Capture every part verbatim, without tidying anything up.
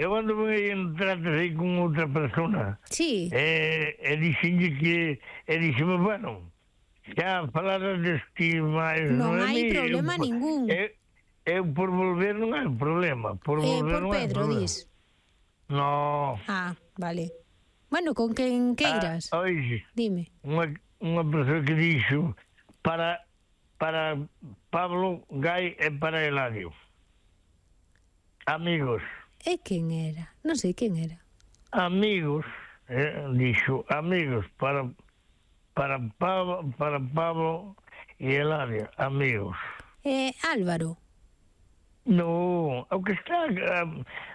eu ando aí en tratas aí con outra persona. Sí. E, e dixenlle que, e dixeme, bueno, xa falaras deste máis... Non é hai mi, problema eu, ningún. Eu, eu por volver non hai problema. Por Eh, volver por non hai Pedro, problema. dis. No. Ah, vale. Bueno, con quen queiras. Ah, oixe, Dime. unha, unha persoa que dixo para, para Pablo Gai e para Eladio. Amigos. E quen era? Non sei quen era. Amigos, eh, dixo, amigos para para Pablo, para Pablo e Eladio, amigos. Eh, Álvaro. No, o que está a,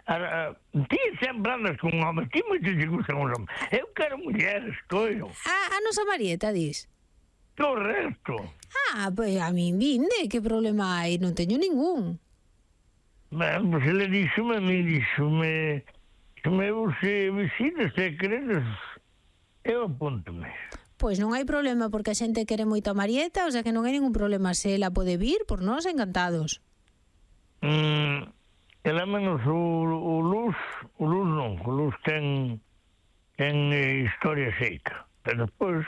a, a, ti sempre andas con homens, ti moito te gustan os homens. Eu quero mulleres, coño. A, a nosa Marieta, dis. Correcto. Ah, pois a min vinde, que problema hai? Non teño ningún. Ben, pois ele díxome, a mí díxome, que me se visitas, se queredes, eu apúntome. Pois non hai problema, porque a xente quere moito a Marieta, o sea que non hai ningún problema. Se ela pode vir, por nós, encantados. Mm, ela menos o, o Luz, o Luz non, o Luz ten, ten eh, historia xeita, pero despois,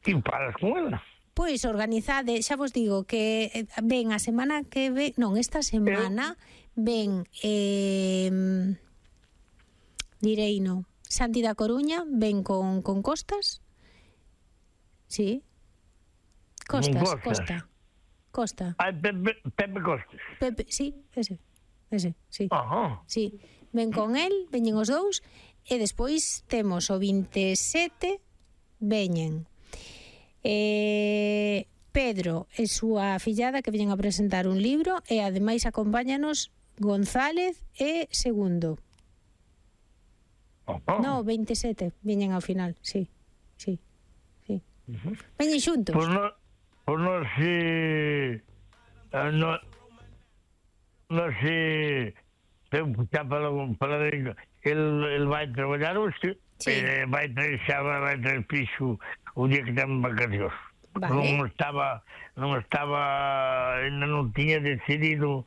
ti paras con ela. Pois organizade, xa vos digo que eh, ven a semana que ve, non, esta semana ven eh, direino, Santi da Coruña, ven con, con Costas. Sí. Costas, Con Costas. Costa. Costa. Ai, Pepe, Pepe Costes. Pepe, sí, ese. Ese, sí. Ajá. Sí. Ven con el, veñen os dous e despois temos o veintisiete veñen eh, Pedro e súa fillada que veñen a presentar un libro e ademais acompáñanos González e Segundo. Ajá. No, veintisiete veñen ao final, sí. Sí. Sí. Uh-huh. Veñen xuntos. Por no, por no se uh, no no se eu xa para para el el vai traballar hoxe, Sí. eh, vai traer xa vai traer piso o día que ten vacacións. Vale. Non estaba non estaba ainda non tiña decidido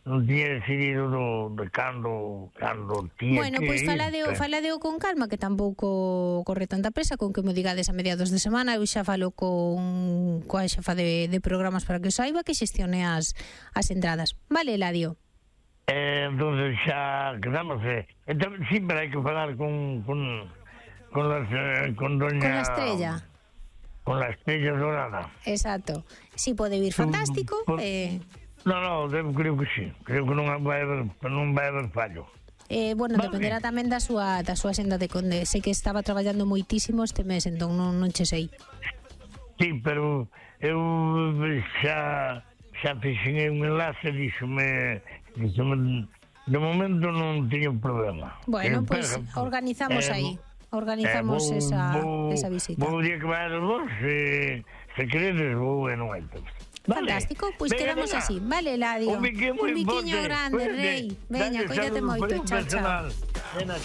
non tiña decidido do, de cando cando tiña Bueno, que pois ir, faladeo, pero- faladeo con calma, que tampouco corre tanta presa, con que mo digades a mediados de semana. Eu xa falo con coa xefa de, de programas para que o saiba, que xestione as, as entradas. Vale, Eladio? Eh, entonces xa quedamos eh. Entonces, siempre hai que falar con con con, las, eh, con doña Con la estrella. con la estrella dorada. Exacto. Si pode vir fantástico. Por- Eh, No, no, eu creo que sí. Creo que non vai haber non vai haber fallo. eh, bueno, Vale. dependerá tamén da súa, da súa senda de Conde. Sei que estaba traballando moitísimo este mes, entón non, non che sei. Sí, pero eu xa xa fixen un enlace, díxome, díxome de momento non teño problema. Bueno, Eh, pois pero- organizamos eh, aí. Organizamos eh, vou- esa, vou- esa visita. Vou o día que vai vos, se, se queredes, vou e non hai problema. Vale. Fantástico, pois Venga, quedamos venga. así. Vale, Eladio. Un biquiño moi Un biquiño forte. grande, Cuídate. rei. Veña, Dale cuídate saludos moito. por un Chao, chao. personal. Ven aquí.